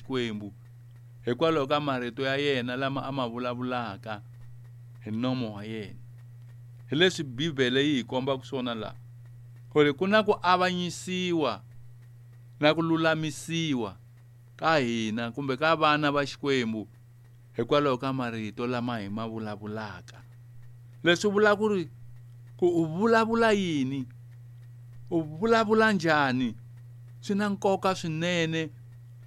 Xikwembu hikwalaho ka marito ya yena lama a ma vulavulaka hi nomo wa yena. Hi leswi Bibele yi hi kombaka swona laha, ku ri ku na ku avanyisiwa na ku lulamisiwa ka hina kumbe ka vana va Xikwembu hikwalaho ka marito lama hi ma vulavulaka. Leswi vula ku ri ku u vulavula yini, u vulavula njhani, swi na nkoka swinene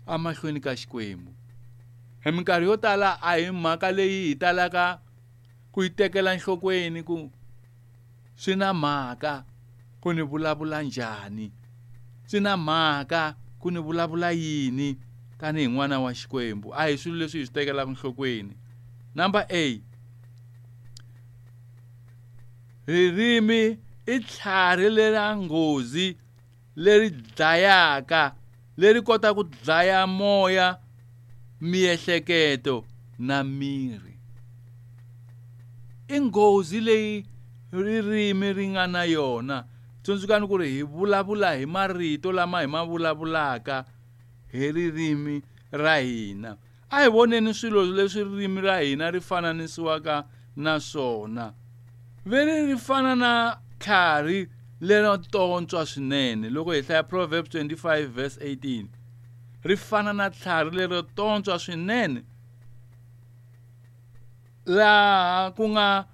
emahlweni ka Xikwembu. Hi minkarhi yo tala a hi mhaka leyi hi talaka ku yi tekela enhlokweni ku swi na mhaka ku ni vulavula njhani, swi na mhaka ku ni vulavula yini tanihi n'wana wa Xikwembu. A hi swilo leswi hi swi tekelaka enhlokweni. Number A, ririmi i tlhari lera nghozi leri dlayaka, leri kotaka ku dlaya moya, miehleketo na miri. I nghozi leyi ririmi ri nga na yona. Tsundzukani ku ri hi vulavula hi marito lama hi ma vulavulaka hi ririmi ra hina. A hi voneni swilo leswi ririmi ra hina ri fananisiwaka na swona. Veri ri fana na tlhari lero tontswa swinene. Loko hi hlaya Proverbs 25 verse 18, ri fana na tlhari lero tontswa swinene, laha ku nga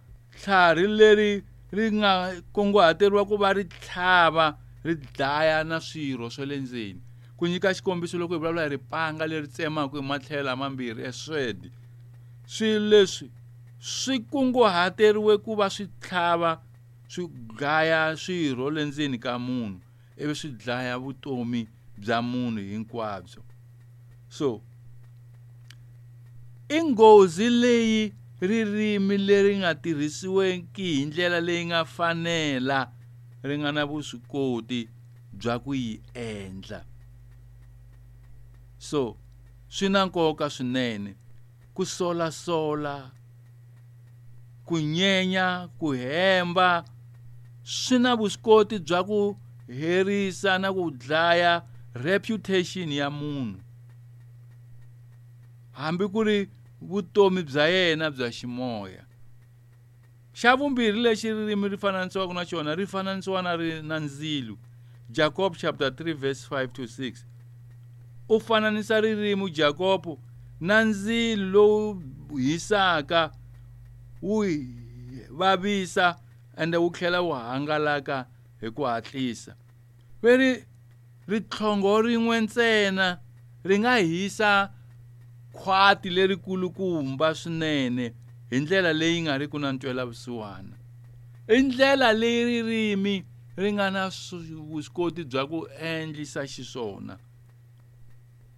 tlhari leri ri nga kunguhateriwa ku va ri tlhava ri dlaya na swirho swa le ndzeni. Ku nyika xikombiso, loko hi vulavula hi ripanga leri tsemaka hi matlhelo lamambirhi, a sword, swilo leswi swi kunguhateriwe ku va swi tlhava swi dlaya swirho le ndzeni ka munhu, ivi swi dlaya vutomi bya munhu hinkwabyo. So i nghozi leyi ririmi leri nga tirhisiweki hi ndlela leyi nga fanela ri nga na vuswikoti bya ku yi endla. So swi na nkoka swinene ku solasola, ku nyenya, ku hemba, swi na vuswikoti bya ku herisa na ku dlaya reputation ya munhu, hambi ku ri vutomi bya yena bya ximoya. Xa vumbirhi lexi ririmi ri fananisiwaka na xona, ri fananisiwa na ri na ndzilo. Jacob chapter 3 verse 5 to 6 u fananisa ririmi Jacob na ndzilo lowu hisaka, wu vavisa ende wu tlhela wu hangalaka hi ku hatlisa. Veri ritlhongo rin'we ntsena ri nga hisa khwati lerikulukumba swinene hi ndlela leyi nga riki na ntwelavusiwana. I ndlela leyi ririmi ri nga na vuswikoti bya ku endlisa xiswona.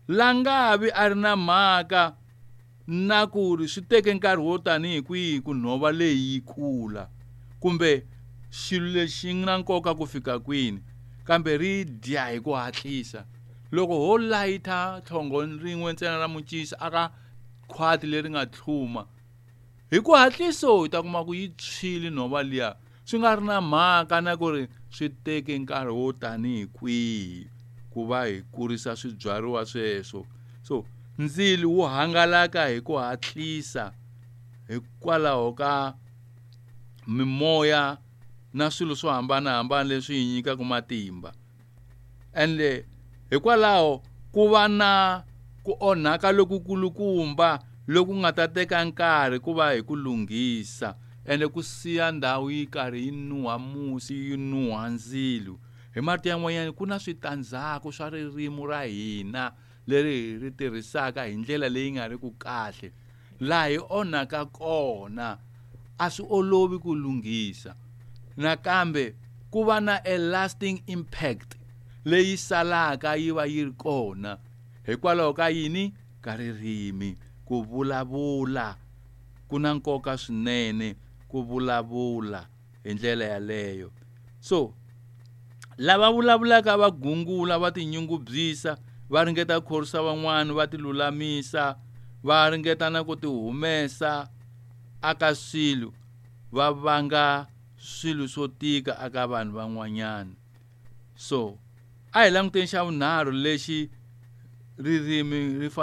Langavi a ri na mhaka na ku ri swi teke nkarhi wo tanihi kwihi ku nhova leyi yi kula, kumbe xilo lexi nga na nkoka ku fika kwini, kambe ri dya hi ku hatlisa. Loko ho layitha tlhongo rin'we ntsena ra muncisi aka khwati leri nga tlhuma, hi ku hatliso hi ta kuma ku yi tshwile nhova liya, swi nga ri na mhaka na ku ri swi teke nkarhi wo tanihi kwihi ku va hi kurisa swibyariwa sweswo. So ndzilo wu hangalaka hi ku hatlisa hikwalaho ka mimoya na swilo swo hambanahambana leswi hi nyikaka matimba. Ende hikwalaho ku va na ku onhaka lokukulukumba loku nga ta teka nkarhi ku va hi ku lunghisa, ende ku siya ndhawu yi karhi yi nuha musi, yi nuha ndzilo. Hi marito yan'wanyana, ku na switandzhaku swa ririmi ra hina leri hi ri tirhisaka hi ndlela leyi nga ri ku kahle. Laha hi onhaka kona a swi olovi ku lunghisa. Nakambe ku va na a lasting impact leyi salaka yi va yi ri kona hikwalaho ka yini? Ka ririmi. Ku vulavula ku na nkoka swinene, ku vulavula hi ndlela yaleyo. So lava vulavulaka va gungula, va tinyungubyisa, va ringeta ku khorwisa van'wana, va tilulamisa, va ringeta na ku tihumesa aka swilo, va vanga swilo swo tika aka vanhu van'wanyana. So a hi languteni xa vunharhu lexi ririmi ri fana